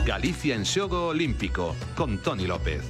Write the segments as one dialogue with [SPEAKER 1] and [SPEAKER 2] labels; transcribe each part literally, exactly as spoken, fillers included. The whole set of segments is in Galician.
[SPEAKER 1] Galicia en xogo olímpico, con Toni López.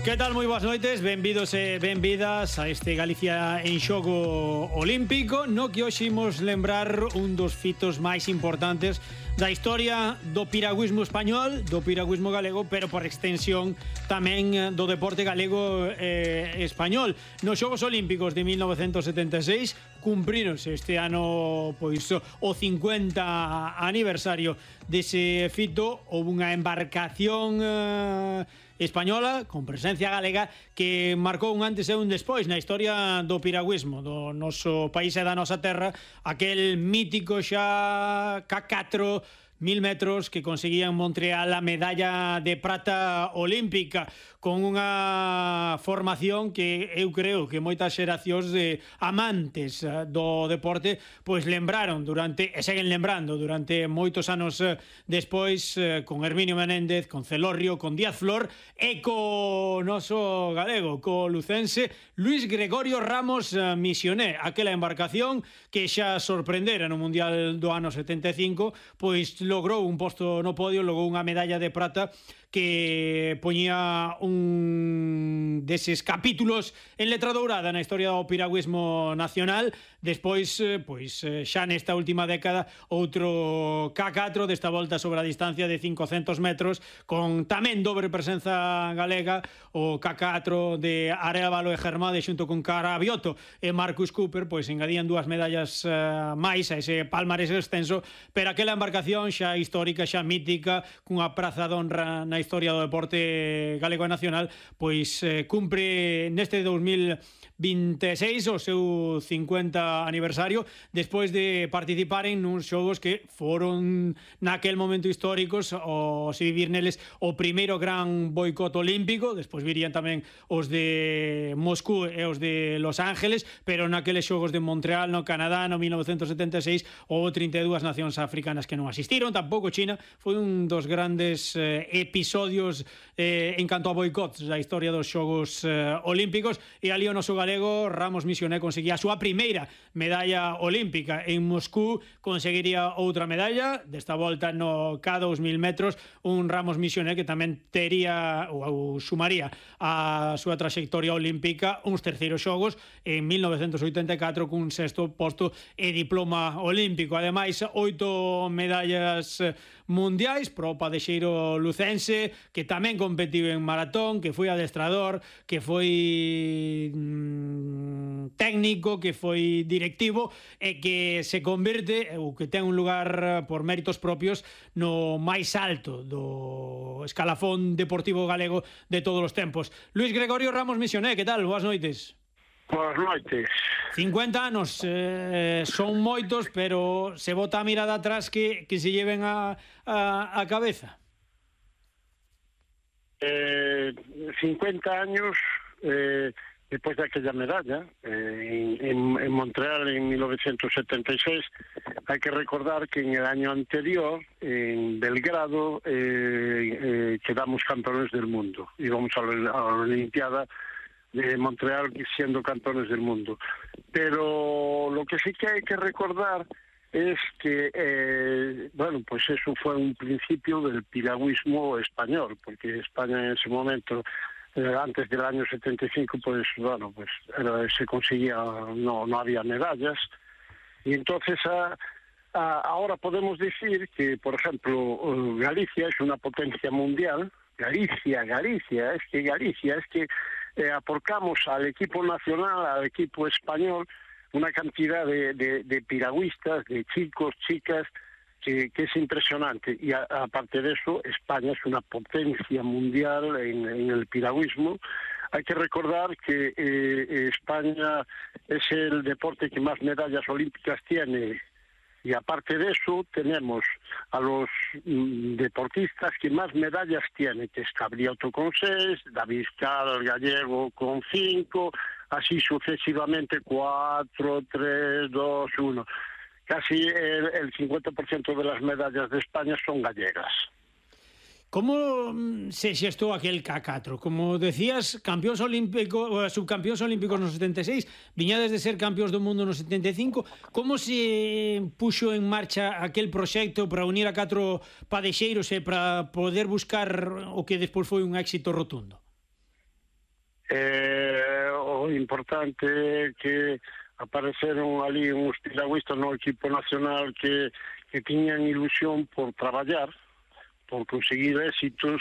[SPEAKER 2] Que tal? Moi boas noites, benvidos e benvidas a este Galicia en xogo olímpico, no que hoxe imos lembrar un dos fitos máis importantes da historia do piragüismo español, do piragüismo galego, pero por extensión tamén do deporte galego e eh, español. Nos Xogos Olímpicos de mil novecentos setenta e seis cumpríronse este ano pois o cincuenta aniversario dese fito. Houve unha embarcación eh, española con presencia galega que marcou un antes e un despois na historia do piragüismo do noso país e da nosa terra, aquel mítico xa K catro mil metros que conseguía en Montreal a medalla de prata olímpica, con unha formación que eu creo que moitas xeracións de amantes do deporte pois lembraron durante, e seguen lembrando durante moitos anos despois, con Herminio Menéndez, con Celorrio, con Díaz Flor e co noso galego, co lucense Luis Gregorio Ramos Misioné, aquela embarcación que xa sorprendera no Mundial do ano setenta e cinco, pois logrou un posto no podio, logrou unha medalla de prata que poñía un deses capítulos en letra dourada na historia do piragüismo nacional. Despois, pois xa nesta última década, outro K catro desta volta sobre a distancia de cincocentos metros, con tamén dobre presenza galega, o K catro de Arévalo e Germade xunto con Carabioto e Marcus Cooper, pois engadían dúas medallas uh, máis a ese palmarés extenso, pero aquela embarcación xa histórica, xa mítica, cunha praza de honra na historia do deporte galego e nacional, pois eh, cumpre neste dos mil vinte e seis o seu cincuenta aniversario, despois de participar en uns xogos que foron naquel momento históricos, o se vivir neles o primeiro gran boicot olímpico. Despois virían tamén os de Moscú e os de Los Ángeles, pero naqueles xogos de Montreal no Canadá no mil novecentos setenta e seis houve trinta e dúas nacións africanas que non asistiron, tampouco China. Foi un dos grandes eh, episodios eh, en canto a boicots da historia dos xogos eh, olímpicos, e ali o noso galego Ramos Misioné conseguía a súa primeira medalla olímpica. En Moscú conseguiría outra medalla, desta volta no K dous mil metros, un Ramos Misioné que tamén tería ou, ou sumaría a súa traxectoria olímpica uns terceiros xogos en mil novecentos oitenta e catro cun sexto posto e diploma olímpico. Ademais, oito medallas mundiais pro padexeiro lucense, que tamén competiu en maratón, que foi adestrador, que foi mmm, técnico, que foi directivo e que se converte, ou que ten un lugar por méritos propios, no máis alto do escalafón deportivo galego de todos os tempos. Luis Gregorio Ramos Misioné, que tal? Boas noites.
[SPEAKER 3] Boas noites.
[SPEAKER 2] cincuenta anos eh, son moitos, pero se bota a mirada atrás que, que se lleven a, a, a cabeza.
[SPEAKER 3] Eh, cincuenta años eh, despois daquela medalla eh, en, en Montreal en mil novecentos setenta e seis. Hai que recordar que en el año anterior en Belgrado eh, eh, quedamos campeones del mundo, íbamos a la, a la Olimpiada de Montreal siendo campeones del mundo. Pero lo que sí que hay que recordar es que, eh, bueno, pues eso fue un principio del piragüismo español, porque España en ese momento, eh, antes del año setenta y cinco, pues bueno, pues era, se conseguía, no, no había medallas, y entonces a, a, ahora podemos decir que, por ejemplo, Galicia es una potencia mundial. Galicia, Galicia, es que Galicia, es que eh, aportamos al equipo nacional, al equipo español, una cantidad de, de, de piragüistas, de chicos, chicas, que, que es impresionante. Y a, aparte de eso, España es una potencia mundial en, en el piragüismo. Hay que recordar que eh, España es el deporte que más medallas olímpicas tiene. Y aparte de eso, tenemos a los mm, deportistas que más medallas tienen, que es Cabrioto con seis, David Cal, gallego, con cinco, así sucesivamente, cuatro, tres, dos, uno. Casi el, el cincuenta por ciento de las medallas de España son gallegas.
[SPEAKER 2] Como se xestou aquel K catro? Como decías, campións olímpicos, subcampións olímpicos no setenta e seis, viñades de ser campións do mundo no setenta e cinco. Como se puxo en marcha aquel proxecto para unir a catro padexeiros e para poder buscar o que despois foi un éxito rotundo?
[SPEAKER 3] Eh, o importante é que apareceron ali uns piragüistas no equipo nacional que, que tiñan ilusión por traballar, por conseguir éxitos.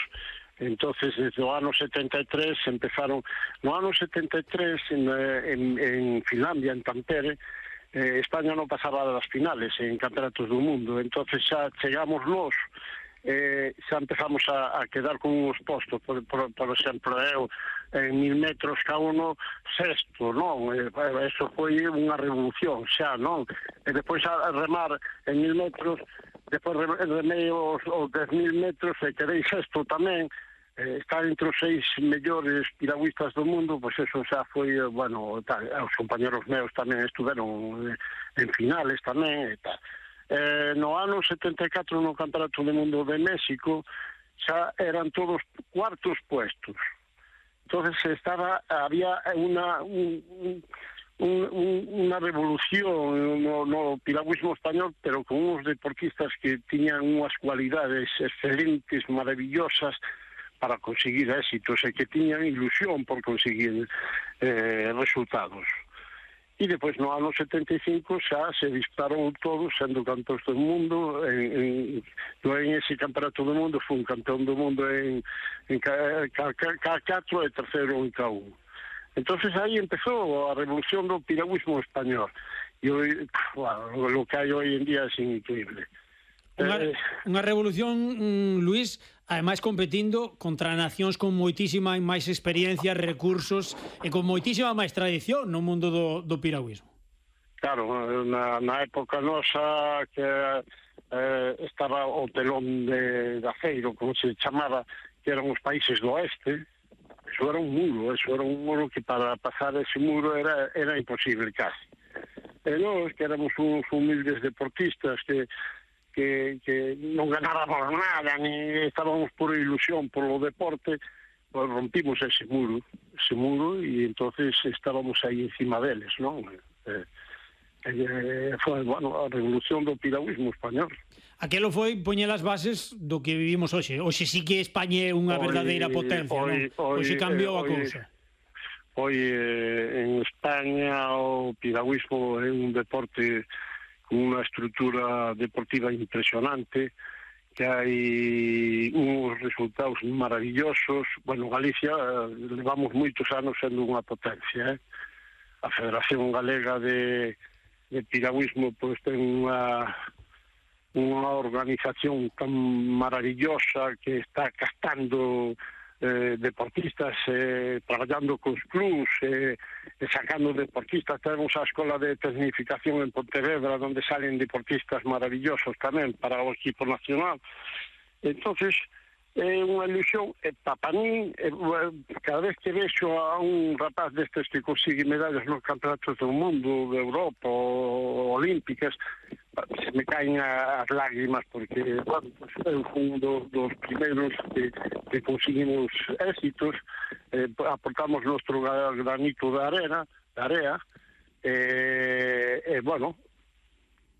[SPEAKER 3] Entonces desde o ano setenta e tres empezaron, no ano setenta e tres en, en, en Finlandia, en Tampere, eh, España non pasaba das finales en campeonatos do mundo. Entonces xa chegamos nós, eh, xa empezamos a, a quedar con uns postos, por, por, por exemplo, eu en mil metros cada uno sexto, non? Eh, eso foi unha revolución xa, non? E depois a remar en mil metros, depois remei os, os dez mil metros e quedei sexto tamén, eh, estar entre os seis mellores piragüistas do mundo, pois eso xa foi, bueno, tal, os compañeros meus tamén estuveron en finales tamén, e tal. Eh, no ano setenta e catro no Campeonato do Mundo de México xa eran todos cuartos puestos. Entonces estaba, había una... Un, un, Un, un, unha revolución no, no piragüismo español, pero con uns deportistas que tiñan unhas cualidades excelentes, maravillosas para conseguir éxitos e que tiñan ilusión por conseguir eh, resultados. E depois no ano setenta e cinco xa se disparou todos sendo campeóns do mundo. En, en, en ese campeonato do mundo foi un campeón do mundo en, en K catro e terceiro en K uno. Entonces aí empezou a revolución do piragüismo español. E hoy, bueno, lo que hai hoy en día é increíble.
[SPEAKER 2] Unha,
[SPEAKER 3] eh,
[SPEAKER 2] unha revolución, mm, Luís, ademais competindo contra nacións con moitísima máis experiencia, recursos e con moitísima máis tradición no mundo do, do piragüismo.
[SPEAKER 3] Claro, na, na época nosa que eh, estaba o telón de, de aceiro, como se chamaba, que eran os países do oeste. Eso era un muro, eso era un muro que para pasar ese muro era, era imposible casi. E nós, que éramos uns humildes deportistas que, que, que non ganábamos nada, ni estábamos por ilusión polo deporte, pues rompimos ese muro, ese muro, e entonces estábamos aí encima deles, non? Eh, eh, foi, bueno, a revolución do piragüismo español.
[SPEAKER 2] Aquelo foi poñer as bases do que vivimos hoxe. Hoxe sí que España é unha verdadeira potencia,
[SPEAKER 3] hoy,
[SPEAKER 2] non? Hoxe cambiou
[SPEAKER 3] eh,
[SPEAKER 2] a cousa.
[SPEAKER 3] Hoy eh, en España o piragüismo é un deporte con unha estrutura deportiva impresionante, que hai uns resultados maravillosos. Bueno, Galicia eh, levamos moitos anos sendo unha potencia, eh? A Federación Galega de, de Piragüismo pois ten unha unha organización tan maravillosa que está captando eh, deportistas, eh, traballando cos clubs, eh, e sacando deportistas. Temos a Escola de Tecnificación en Pontevedra, onde salen deportistas maravillosos tamén para o equipo nacional. Entonces é unha ilusión, e para mí, e, cada vez que vexo a un rapaz destes que consigue medallas nos campeonatos do mundo, de Europa ou olímpicas, se me caen as lágrimas, porque, bueno, pues, eu fui un dos, dos primeiros que, que conseguimos éxitos, eh, aportamos nuestro granito de arena, de area, e, eh, eh, bueno,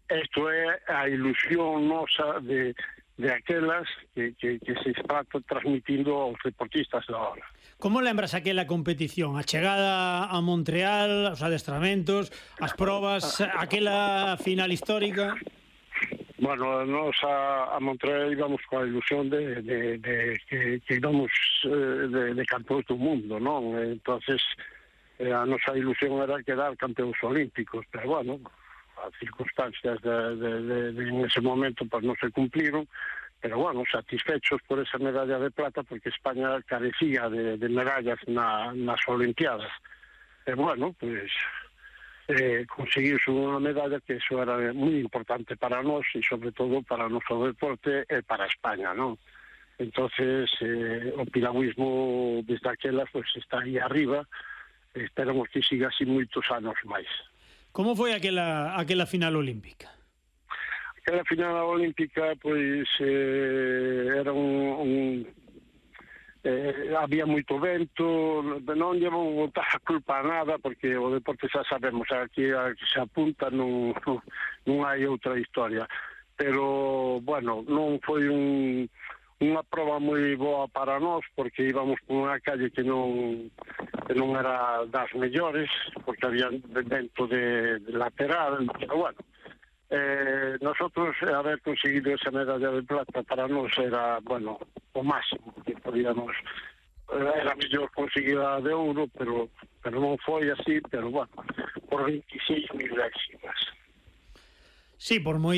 [SPEAKER 3] isto é a ilusión nosa de de aquelas que, que, que se está transmitindo aos deportistas da hora.
[SPEAKER 2] Como lembras aquela competición? A chegada a Montreal, os adestramentos, as probas, aquela final histórica?
[SPEAKER 3] Bueno, nos a, a Montreal íbamos coa ilusión de, de, de que, que íbamos eh, de, de campeóns do mundo, non? Entonces, eh, a nosa ilusión era quedar campeóns olímpicos, pero bueno, as circunstancias de, de, de, de en ese momento pues non se cumpliron, pero bueno, satisfechos por esa medalla de plata, porque España carecía de, de medallas na, nas Olimpiadas. E bueno, pues eh, conseguirse unha medalla, que eso era moi importante para nós e sobre todo para o noso deporte e para España, non? Entonces, eh, o piragüismo desde aquela pues está aí arriba, e esperamos que siga así moitos anos máis.
[SPEAKER 2] Como foi aquela, aquela final olímpica?
[SPEAKER 3] Aquela final olímpica, pois, eh, era un... un eh, había moito vento, non lle vou botar a culpa a nada, porque o deporte xa sabemos, aquí a que se apunta non, non hai outra historia. Pero, bueno, non foi un, unha proba moi boa para nós, porque íbamos por unha calle que non, que non era das mellores, porque había vento de, de lateral, pero bueno, eh, nosotros haber conseguido esa medalla de plata para nós era, bueno, o máximo que podíamos, era mellor conseguir a de ouro, pero, pero non foi así, pero bueno, por veintiséis milésimas.
[SPEAKER 2] Sí, por moi